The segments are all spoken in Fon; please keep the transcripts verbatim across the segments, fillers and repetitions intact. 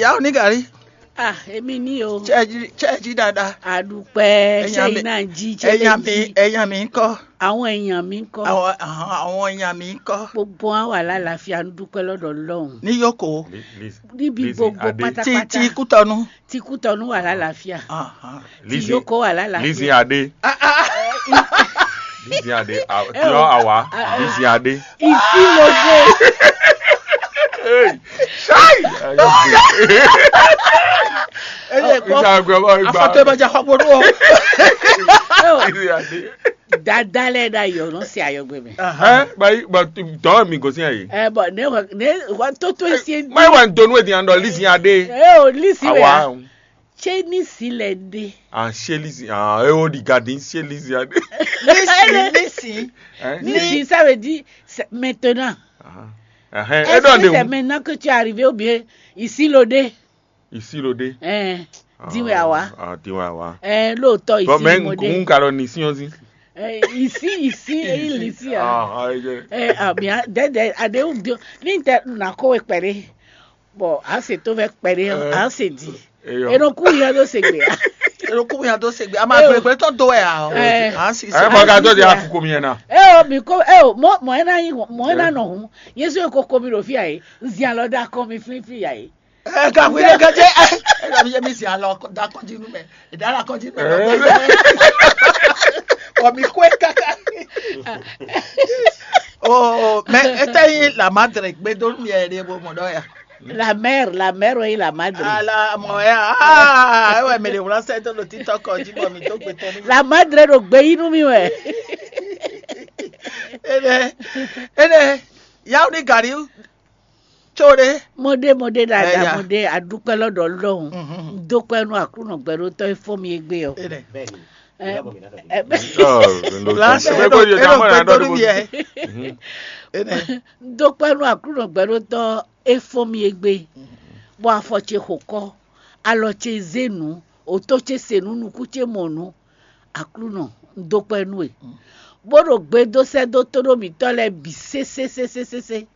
Yàwó ní gàrí. Ah, èmi ní o. Chẹ́ẹ̀jì chẹ́ẹ̀jì dáadáa. Àdùpẹ́ Ẹ̀yàn mi- ṣẹ́yìn náà jí Ẹ̀yàn mi ṣẹlẹ̀ jí. Ẹ̀yàn mi ń kọ́. Àwọn èèyàn mi ń kọ́. Àwọn àwọn- àwọn èèyàn mi ń kọ́. Gbogbo wọn wà lálàáfíà ń dúpẹ́ lọ́dọ̀ Ọlọ́run. Ní Yókò. Níbi gbogbo Adé. Tí pátápátá. Tí Kútọ́nú. Tí Kútọ́nú wà lálàáfíà. Tí Lizzy- Yókò wà lálàáfíà. Lizzy Adé. Lizzy Adé. Tiọ́ àwa. Lizzy Adé. Ìsílódé. Ṣáì. Eye kpɔ. Ìgbà àgbẹ̀ ọmọ ìgbà. Afɔtɔ ìbàjẹ́ àkọ́kọ́ ní o. Lizzy Adé. Dada lɛ da yɔ nɔ se ayɔgbe mɛ. Ɛ bayi ba tɔ mi gosí ayi. Ɛ bɔn ne wa ne wa toto esi. Mayi wa donu edi yan dɔ Lizzy Adé. Ɛ o Lizzy wɛ ya. Awa. Tse ní si lɛ ɖe. Ah, chez Lizzy. Ah, eh, oh, regarde, chez Lizzy. Lizzy, Lizzy. Hein? Lizzy, ça veut dire c'est maintenant. Ah. Ah, hein. Est-ce que c'est maintenant que tu es arrivé ou bien ici l'odé? Ici l'odé. Eh, dis-moi, wa. Ah, dis-moi, wa. Eh, l'autre ici, bon, mais l'odé. Nous, nous, nous, ici, on dit. Eh, ici, ici, et il ici. Ah, ah, je... Eh, ah, bien, de, de, ade, ou bien, ni te, na ko ekpere. Bɔ a se to vɛ kpɛɖé ɔ́, a se di. E nɔ kú yɛ ɖó se gbe a. E nɔ kú yɛ ɖó se gbe. A ma gbe gbe tɔn do wɛ a ɔ. A si se. Ɛ mɔ ka dɔ di a kuku mi yɛn na. E o mi ko e o mɔ mɔ e na yi mɔ e na nɔ hun. Yesu e ko ko mi ɖo fi a ye. Zi alɔ da kɔ mi flin fi a ye. Ɛ ka fi ɖe ka jɛ ɛ ɛ ka fi jɛ mi zi alɔ da kɔ di nu mɛ. Ìdára kan jí pẹ̀lú ọgbẹ́. Ọ̀mí kó ẹ káká. Oh, mais esta ahí la madre, me dormía de modo ya. La mère, la mère, oui, la madre. Ala mɔya. Ah, ewe me de wla se to lo tito ko ji bo mi to gbe to ni. La madre do gbe inú mi wɛ. Ene. Ene. Ya ni gari. Tso ɖe. Mo ɖe mo ɖe ɖaɖa mo ɖe aɖukpɛ lɔ ɖɔ lɔhùn. Dókpɛ nú Aklúnɔ gbɛɖótɔ́ e fɔ́n mi égbé ɔ́. Bɛni. Ɛ, ɛ, Blanche, Bɛni, eɖo eɖo gbɛdonu mi ɛ. Dókpɛ nú Aklúnɔ gbɛɖótɔ́ e fɔ́n mi égbé. Bɔ afɔ ce xo kɔ, alɔ ce zé nǔ, òtó ce se nǔ, nukún ce mɔ nǔ. Aklúnɔ, un dó kpɛ́ nú we, bó ɖo gbe dó sɛ́ dó tóɖó mǐtɔn lɛ́ɛ bǐ sésésésésé.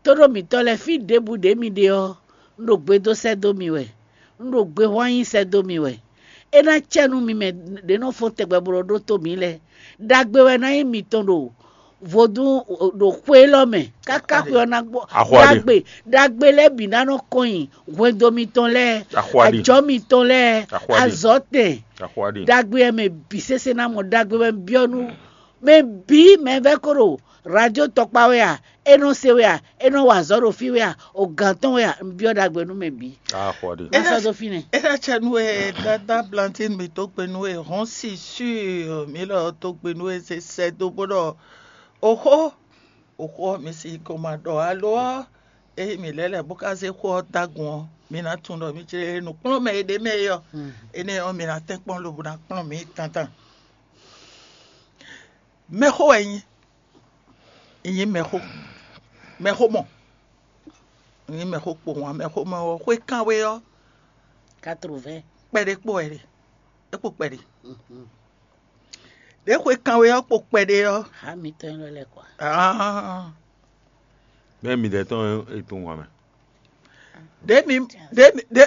Tóɖó mǐtɔn lɛ́ɛ fí ɖěbǔ ɖě mi ɖe ɔ́, un ɖo gbe dó sɛ́ dó mi wɛ, un ɖo gbe hwán nyi sɛ́ dó mi wɛ. É ná cɛ nú mi mɛ ɖě nɔ fɔ́n tɛgbɛ bó nɔ ɖótó mǐ lɛ́ɛ. Ɖagbe wɛ ná nyí mitɔn ɖo vodún ɖo xwe élɔ́ mɛ káká xwe ɔ́ ná gbɔ. Ɖagbe ɖagbe lɛ́ɛ bǐ ná nɔ kɔn nyi hwendo mitɔn lɛ́ɛ, ajɔ̌ mitɔn lɛ́ɛ, azɔ̌tɛn, ɖagbe ɔ́ mɛ bǐ sésé ná mɔ. Ɖagbe wɛ un byɔ́ nú mɛ bǐ mɛ vɛ́ ko ɖo radio tɔkpá wɛ a, é nɔ se wɛ a, é nɔ wa azɔ̌ ɖo fí wɛ a, o gǎn tɔn wɛ a, un byɔ́ ɖagbe nú mɛ bǐ. Má sɔ́ dó fínɛ́. É ná cɛ nú we Dada Blantyne mǐ dó gbe nú we hɔn si sûr mǐ lɔ dó gbe nú we se sɛ́ dó bó ɖɔ oxó oxó ɔ́ mi si ko ma ɖɔ alo ɔ́, ényí mǐ lɛ́ lɛ̌ bó ka zé xó ɔ́ dó agun ɔ́, mi ná tunwun ɖɔ mi jlé nǔkplɔ́nmɛ e ɖ'é mɛ é ɔ́, énɛ́ ɔ́ mi ná tɛ́nkpɔ́n lobo ná kplɔ́n mǐ tantan. Mɛxó wɛ nyí, nyí mɛxó, mɛxó mɔ, nyí mɛxó kpowun ǎ. Mɛxó mɔ ɔ́, xwé kánwé ɔ́, quatre-vingts. Kpɛɖé kpo wɛ ɖe, é kpo kpɛɖé. Ɖě xwe kanwe ɔ́ kpo kpɛɖé ɔ́, Hǎ mitɔn élɔ́ lɛ́ɛ kɔ. ah, Bɛ́ midɛɛ tɔn e tunwun ǎ mɛ. ɖě mi ɖě mi ɖě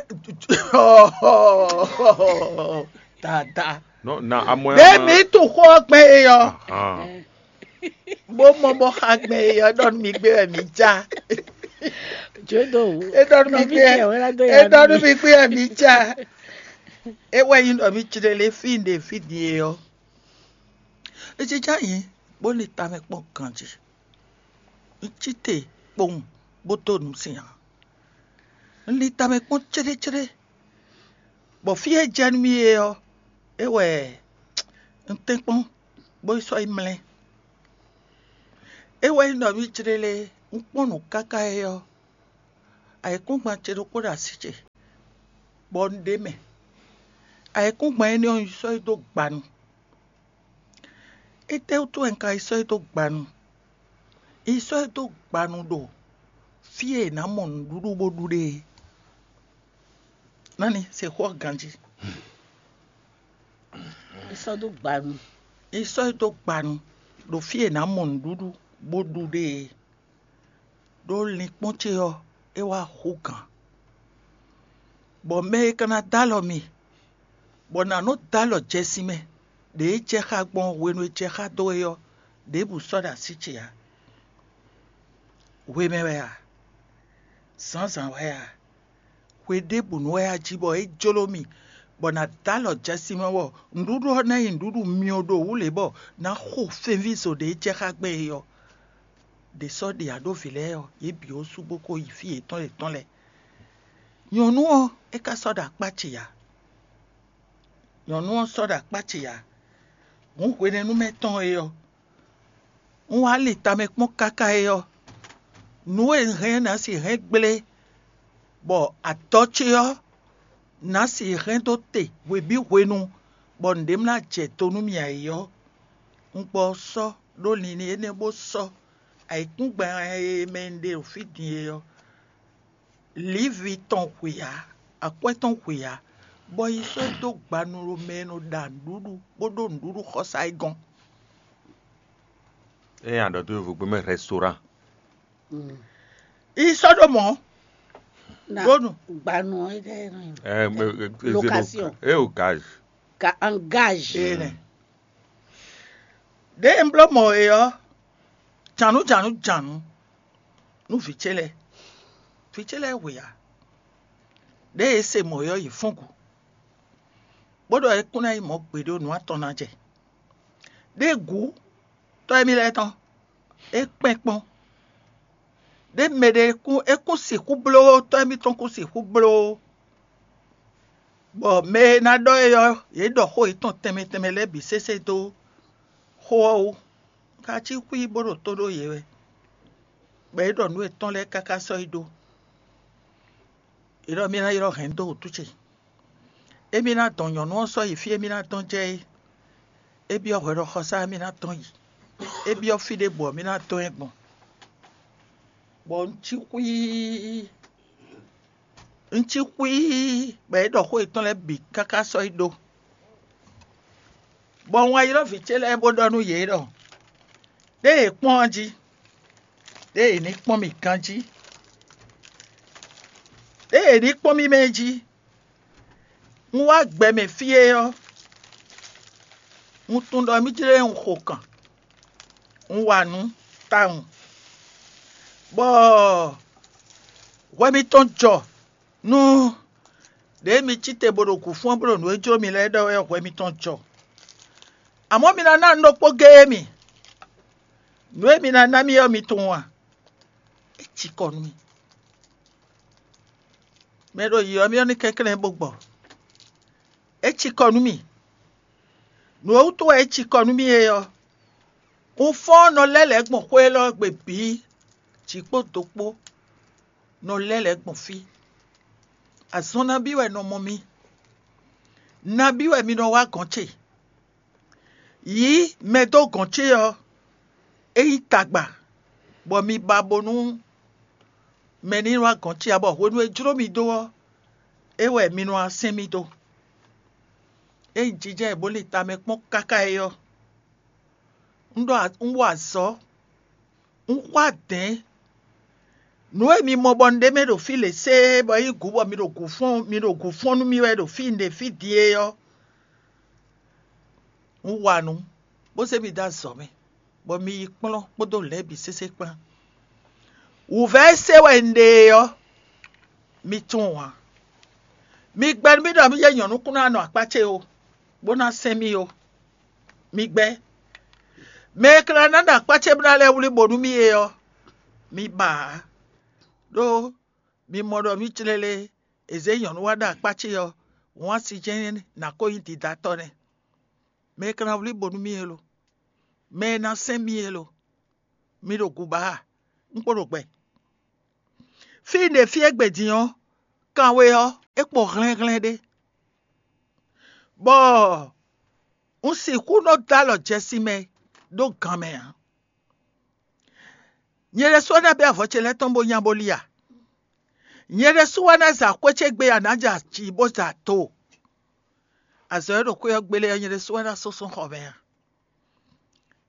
dada Non, na amɔ ɖě mi tun xó ɔ́ gbɛn e ɔ́, bó mɔ bó xa gbɛn e ɔ́ ɖɔ nú mi gbé wɛ mi já. Jodo. É ɖɔ nú mi gbé é ɖɔ nú mi gbé wɛ mi já. É wɛ nyí ɖɔ mi jlé fí ɖě fí ɖíe ɔ́. É jínjɔ́n ayǐ bó lin tamɛ kpɔ́n ganjí. Un cí te kpowun bó dó nǔ sin ǎ. Un lin tamɛ kpɔ́n céɖécéɖé, bɔ fí e jɛ nú mì é ɔ́, é wɛ un tɛ́nkpɔ́n bó yi sɔ́ yi mlɛ́. É wɛ nyí ɖɔ mì jlé lé, un kpɔ́n nǔ káká é ɔ́, ayǐkúngban ce ɖokpó ɖo así ce, bɔ un ɖ'é mɛ. Ayǐkúngban énɛ́ ɔ́, un yi sɔ́ yi dó gbanu. Étɛ́wútu wɛ un ka yi sɔ́ yi dó gbanu? Un yi sɔ́ yi dó gbanu ɖo fí e è nǎ mɔ nǔɖuɖu bó ɖu ɖe é. Nani se xó ɔ́ ganjí. È sɔ́ dó gbanu. È sɔ́ yi dó gbanu ɖo fí e è nǎ mɔ nǔɖuɖu bó ɖu ɖe é. Ɖó linkpɔ́n ce ɔ́, é wá hú gǎn. Bɔ mɛ e ka ná dó alɔ mi, bɔ nǎ nɔ dó alɔ jɛ sin mɛ, ɖě e jɛ xá gbɔn hwenu e jɛ xá dó é ɔ́, ɖěbǔ sɔ́ ɖo así ce ǎ. Hwemɛ wɛ a? Zǎnzǎn wɛ a? Hwe ɖěbǔnu wɛ a jí bɔ é jló mì, bɔ nǎ dó alɔ jɛ sin mɛ bɔ nǔɖuɖu ɔ́ ná nyí nǔɖuɖu myɔ ɖo wǔ lě bɔ nǎ xo fɛnvízo ɖě e jɛ xá gbɛn é ɔ́? Ɖě sɔ́ ɖe aɖóvǐ lɛ́ɛ ɔ́, yě bǐ ó sú bó ko yi fí yětɔn yětɔn lɛ́ɛ. Nyɔ̌nu ɔ́, é ka sɔ́ ɖo akpá ce ǎ. Nyɔ̌nu ɔ́ sɔ́ ɖo akpá ce ǎ. Hǔn hwenɛ́nu mɛ tɔn é ɔ́, un wá lin tamɛ kpɔ́n káká é ɔ́, nǔ e un hɛn ɔ́ ná sixú hɛn gblé, bɔ adɔ ce ɔ́ ná sixú hɛn dó te hwebǐ hwenu, bɔ nǔɖé ma ná jɛ do nú mì ǎ é ɔ́, un gbɔ ɔ́ sɔ́ ɖó linlin énɛ́ bó sɔ́ ayǐkúngban e mɛ un ɖe ɖo fí din é ɔ́. Lǐvi tɔn hwe ǎ, akwɛ́ tɔn hwe ǎ, bɔ yi sɔ́ dó gbanu ɖo mɛ e nɔ ɖa nǔɖuɖu bó ɖó nǔɖuɖu xɔsá é gɔ́n. Ée a ɖɔ dó yovogbe mɛ restaurant. Yi sɔ́ ɖó mɔ̌. Ɖó nu. Gbanu ɔ́ ɖe nɔ Eh, eh, eh, Location. Eh, au gage. Ka engage. Ene. Ɖěe un bló mɔ é ɔ́, jǎnú jǎnú jǎnú nú vǐ ce lɛ́ɛ. Vǐ ce lɛ́ɛ hwe ǎ. Ɖěe é se mɔ é ɔ́, yě fɔ́n gǔ, bó ɖɔ é kún ná nyí mɔ̌ gbeɖé nǔ atɔn ná jɛ. Ɖěe gǔ tɔ́ émí lɛ́ɛ tɔn, é kpɛ́n kpɔ́n. Ɖě mɛ ɖé kún é kún sixú bló, tɔ́ émítɔn kún sixú bló, bɔ mɛ e ná ɖɔ é ɔ́, yě ɖɔ xó yětɔn tɛnmɛ tɛnmɛ lɛ́ɛ bǐ sésé dó xó ɔ́ wú. Ka cí xwí bó ɖo tó ɖó yě wɛ, bɔ é ɖɔ nǔ yětɔn lɛ́ɛ káká sɔ́ yi ɖó. È ɖɔ mì ná ylɔ́ hɛ̌n dó wǔtu ce. Émí ná dɔn nyɔ̌nu ɔ́ sɔ́ yi fí e mì ná dɔn jɛ é. É byɔ́ hwɛɖɔxɔsá e mì ná dɔn yi. É byɔ́ fí ɖěbǔ ɔ́, mì ná dɔn ɛ gbɔn. Bɔ un cí xwíí, un cí xwíí, bɔ é ɖɔ xó yětɔn lɛ́ɛ bǐ káká sɔ́ yi ɖó. Bɔ un wá ylɔ́ vǐ ce lɛ́ɛ bó ɖɔ nú yě ɖɔ: Ɖé yě kpɔ́n ɔ́ jí, ɖé yě ní kpɔ́n mì ganjí, ɖé yě ní kpɔ́n mì mɛ jí. Un wá gbɛ mɛ fí é ɔ́, un tunwun ɖɔ mì jlé un xo kan, un wa nǔ tawun, bɔ hwɛ mitɔn jɔ nú ɖě mi cí te bó ɖo gǔ fɔ́n bó ɖo nǔ e jló mi lɛ́ɛ ɖɔ wɛ hwɛ mitɔn jɔ. Amɔ̌ mi ná ná nǔ ɖokpó géé mì; nǔ e mi ná ná mì ɔ́, mi tunwun a? É cikɔ nú mì. Mɛ e ɖo yǐyɔ mì ɔ́ ní kɛnklɛ́n bó gbɔ. É cikɔ nú mì. Nǔ e wútu wɛ é cikɔ nú mì é ɔ́, un fɔ́n nɔ lɛ́ lɛ̌ gbɔn xwé élɔ́ gbe bǐ, jǐ kpó do kpó, nɔ lɛ́ lɛ̌ gbɔn fí. Azɔn nabí wɛ nɔ mɔ mi? Nabí wɛ mi nɔ wá gɔ̌n ce? Yǐ mɛ dó gɔ̌n ce ɔ́, é nyí tagba, bɔ mi ba bónú mɛ ní wá gɔ̌n ce ǎ, bɔ hwenu e jló mi dó ɔ́, é wɛ mi nɔ wá sɛn mì dó. Ényí jijɛ e bó lin tamɛ kpɔ́n káká é ɔ́, un ɖɔ un wa azɔ̌, un xwá dɛ̌n. Nǔ e mi mɔ bɔ un ɖe mɛ ɖo fí lě sée, bɔ é nyí gǔ bɔ mi ɖo gǔ fɔ́n mi ɖo gǔ fɔ́n nú mì wɛ ɖo fí un ɖe fí din é ɔ́, un wa nǔ, bó zé mi dó azɔ̌ mɛ, bɔ mi yi kplɔ́n kpódó lɛ̌ bǐ sésé kpán. Wǔvɛ́ e se wɛ un ɖe é ɔ́, mi tunwun ǎ. Mi gbɛ́ nú mì ɖɔ mì yɛ nyɔ̌nu kún ná nɔ akpá ce ó, bó ná sɛn mì ó. Mi gbɛ́. Mɛ e ka ná ɖo akpá ce bó ná lɛ́ wlí bo nú mì é ɔ́, mi ba ǎ. Ɖó mi mɔ ɖɔ mì clélé, è zě nyɔ̌nu wá ɖo akpá ce ɔ́, wǎn si jɛ́n ná ko nyí didatɔ́ nɛ́. Mɛ e ka ná wlí bo nú mì é lo, mɛ e ná sɛn mì é lo, mi ɖo gǔba a? Un kpo ɖo gbɛ. Fí un ɖe fí égbé din ɔ́, kanwe ɔ́, é kpo hlɛ́nhlɛ́n ɖé, bɔ un sixú nɔ dó alɔ jɛ sin mɛ ɖó gan mɛ ǎ. Nyɛ ɖésú wɛ ná bɛ́ avɔ ce lɛ́ɛ tɔn bó nya bó li a? Nyɛ ɖésú wɛ ná za xwé ce gbe a nǎ jɛ aci bó za do? Azɔ̌ e ɖo xwé ɔ́ gbélé ɔ́, nyɛ ɖésú wɛ ná súnsún xɔ mɛ a?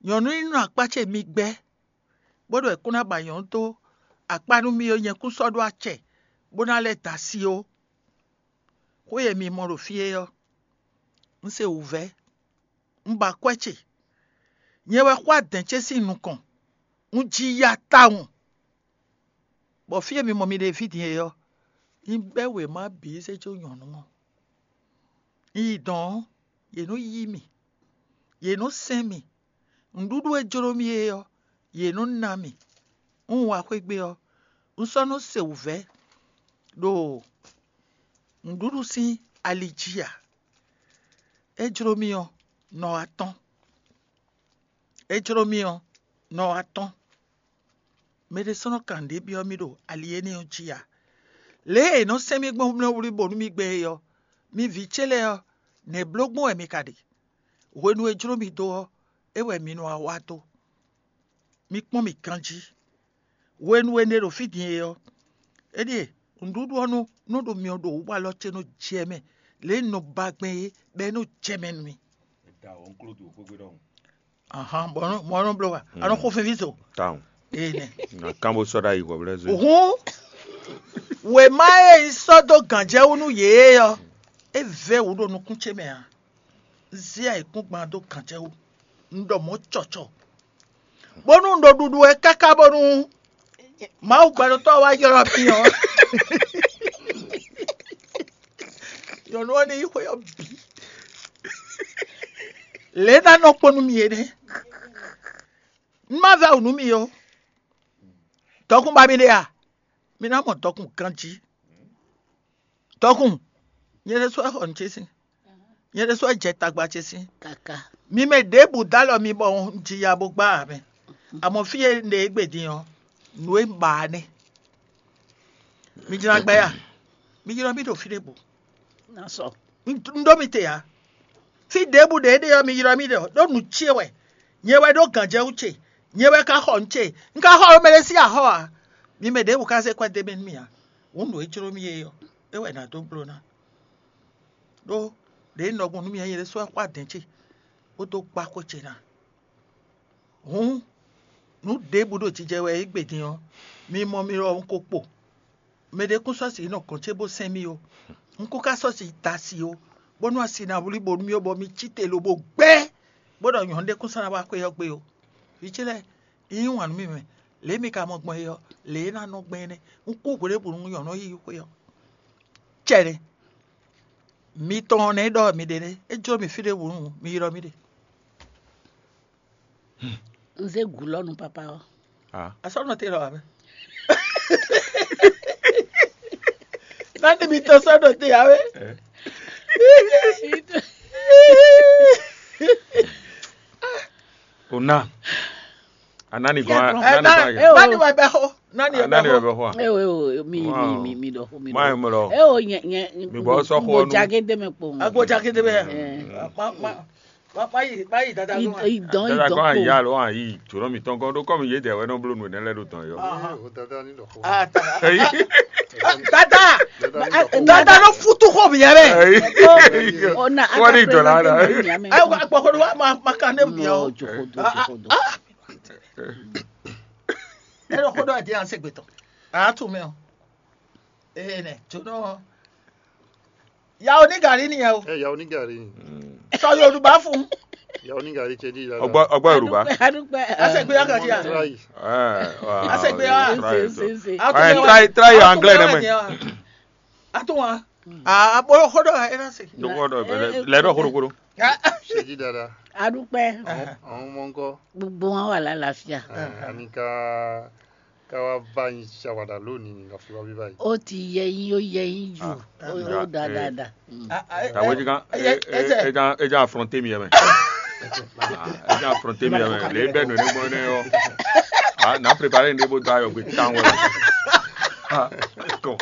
Nyɔ̌nu e nɔ akpá ce mi gbɛ́, bó ɖo è kún ná ba nyɔ̌nu dó akpá nú mì ó, nyɛ kún sɔ́ ɖó acɛ bó ná lɛ́ da asi ó. Xwé e mi mɔ ɖo fí é ɔ́, un se wǔvɛ́, un ba akwɛ́ ce. Nyɛ wɛ xwá dɛ̌n ce sín nukɔn, un ji ya tawun. Bɔ fí e mi mɔ mi ɖe fí din é ɔ́, un bɛ́ wěma bǐ zé jó nyɔ̌nu ɔ́. Un yi dɔ̌n ɔ́, yě nɔ́ yí mì, yě nɔ́ sɛ́n mì. Nǔɖuɖu e jló mì é ɔ́, yě nɔ́ ná mì. Un wá xwé gbe ɔ́, un sɔ́ nɔ́ se wǔvɛ́ ɖo nǔɖuɖu sín ali jí ǎ. É jló mì ɔ́, nɔ wá tɔ́n. É jló mì ɔ́, nɔ wá tɔ́n. Mɛ ɖésúnɔ ka nǔɖé byɔ́ mì ɖo ali énɛ́ ɔ́ jí ǎ. Lě e è nɔ sɛ́n mì gbɔn mlɔ́wlí bónú mì gbɛn é ɔ́, mi vǐ ce lɛ́ɛ ɔ́, nɛ̌ bló gbɔn wɛ mi ka ɖe? Hwenu e jló mi dó ɔ́, é wɛ mi nɔ wá wá dó. Mi kpɔ́n mì ganjí. Hwenu e un ɖe ɖo fí din é ɔ́, é ɖíe nǔɖuɖu ɔ́ nɔ nɔ ɖo myɔ ɖo wǔ bɔ alɔ ce nɔ jɛ mɛ, lě e un nɔ ba gbɛn é, bɔ é nɔ jɛ mɛ nú mì. Ahán, bɔ nɔ mɔ nɔ bló wa, a nɔ xo fɛnví zo. Tawun. Ee nɛ. Na kán bó sɔ́ ɖó ayi hwɛ̌blɛ́ zé. Hǔn wěma e un sɔ́ dó gǎnjɛwú nú yě é ɔ́, é vɛ́ wǔ ɖo nukún ce mɛ ǎ. Un zé ayǐkúngban dó gǎnjɛwú. Un ɖɔ mɔ̌ cɔcɔ. Bónú un ɖo ɖuɖu wɛ káká bónú Mawu gbɛɖotɔ́ wá ylɔ́ mì ɔ́, nyɔ̌nu ɔ́ ní yí xwé ɔ́ bǐ. Lě ná nɔ kpɔ́n nú mì é nɛ́. Un má vɛ́ wǔ nú mì ó. Dɔkun ba mi ɖe a? Mi ná mɔ dɔkun ganjí. Dɔkun, nyɛ ɖésú wɛ xɔ nǔ ce sín. Nyɛ ɖésú wɛ jɛ tagba ce sín. Kaka. Mi mɛ ɖěbǔ dó alɔ mi bɔ un ji ya bó gbá ǎ mɛ. Amɔ̌ fí e un ɖe égbé din ɔ́, nǔ e un ba ɔ́ nɛ́. Mi jlá gbɛ ya? Mi ylɔ́ mì ɖo fí ɖěbǔ. Ná sɔ. Un ɖó mi te ǎ. Fí ɖěbǔ ɖě ɖe ɔ́, mi ylɔ́ mì ɖɔ ɖó nǔ ce wɛ. Nyɛ wɛ ɖó gǎnjɛwú ce. Nyɛ wɛ ka xɔ nǔ ce. Un ka xɔ mɛ ɖé sín axɔ́ ǎ. Mi mɛ ɖěbǔ ka zé kwɛ́ dó mì nú mì ǎ. Hǔn nǔ e jló mì é ɔ́, é wɛ nǎ dó bló ná. Ɖó ɖě un ɖɔ gbɔn nú mi ɔ́, nyɛ ɖésú wɛ xwá dɛ̌n ce, bó dó gbá xwé ce ná. Hǔn, nǔ ɖěbǔ ɖo jijɛ wɛ égbé din ɔ́, mi mɔ mi ɖɔ un ko kpo. Mɛɖé kún sɔ́ sixú nɔ gɔ̌n ce bó sɛn mì ó. Un kún ka sɔ́ sixú da asi ó, bónú asi ná wlí bo nú mì ó, bɔ mi cí te lobo gbɛ́, bó ɖɔ nyɔ̌nu ɖé kún sɔ́ ná wá xwé ɔ́ gbe ó. Vǐ ce lɛ́ɛ, un yí wǎn nú mi mɛ, lě e mi ka mɔ gbɔn é ɔ́, lě e é ná nɔ gbɛn é nɛ́. Un kú hwěɖěbǔ nú nyɔ̌nu ɔ́ yi xwé ɔ́. Cɛ́ nɛ́. Mi tɔn ɔ́ nɛ́ ɖɔ mi ɖe nɛ́. É jló mi fí ɖěbǔ nu, mi ylɔ́ mì ɖe. Un zé gǔ lɔ nú papa ɔ́. Ah. Asɔ́nɔ te lɔ ǎ mɛ. Nani mi tɔn sɔ́ ɖo te ǎ wɛ. Eh. O ná. A nani gɔn a Ɛ, nani gɔn a nani, nani wɛ bɛ xo? Nani wɛ bɛ xo? A nani wɛ bɛ xo a? Ewo ewo mi mi Wow. mi mi ɖɔ xo mi Má ɖɔ. Yɛ mɔ lɔ. Ewo nyɛ nyɛ Mi bɔ sɔ xo gbɔ nu. Jage de mɛ kpɔn. Agbo jake de bɛ. Ɛ. Ma ma ma ma yi ma yi dada I ló ma. I dɔn i Dada dɔn gɔn a kpɔn. Ya lo a yi jɔrɔ mi tɔn gɔn ɖo kɔmi yé dɛ wɛ nɔ blo nu ne lɛ ɖo tɔn yɔ. Aha. O dada ni ɖɔ xo. Ah, ta- Eyi. Dada ni Dada ɖɔ xo. Dada ló futu xo mi yɛ bɛ. Eyi. Ona Wọ́n ní ìjọ̀lá rẹ̀. Ẹ wá gbọ́ kó ló wá máa máa ka ní mi ọ́. Jokodo jokodo. Ẹ lọ kó dọ́ ẹ̀ di à ń ṣègbè tán. À á tún mi ọ́. Ee nẹ jóná. Ìyàwó ní gàrí nìyẹn o. Ẹ ìyàwó ní gàrí ni. Sọ Yorùbá fún. Ìyàwó ní gàrí ṣe dí ìlànà. Ọgbọ́ ọgbọ́ Yorùbá. Adúpẹ́. A ṣe gbé ọkàn sí à. Try. Ẹ, wà, A ṣe gbé wa. Try it. Ṣe, ṣe, ṣe. A tún Ẹ, wá. Try try your anglais nẹ mẹ. A tún wá. A bolo kó dọ̀ ẹ náà ṣe. Dɔgɔ dɔ bɛlɛ lɛ dɔ korokoro. Ṣe jí dáadáa. Adúpẹ́. Àwọn àwọn ọmọ ńkọ́? Gbogbo wọn wà lálàáfíà. Ẹ, a ní ká ká wá bá yín ṣàwàdà lónìí ní ká fi wá bí báyìí. Ó ti yẹ yín, ó yẹ yín jù. Ah, Ó ó dáa eh. dáadáa. Mm. Tàwé jí kan Ẹ jẹ́- ẹ jẹ́- ẹ jẹ́ affronter mi yẹn mẹ́. Ẹ jẹ́ affronter mi yẹn mẹ́. Lè bẹ́ẹ̀ nù ní gbọ́n ní ọ́. Ah, n'a préparé ní bó dá yọ̀ gbé tán wẹ̀. Ah, kò.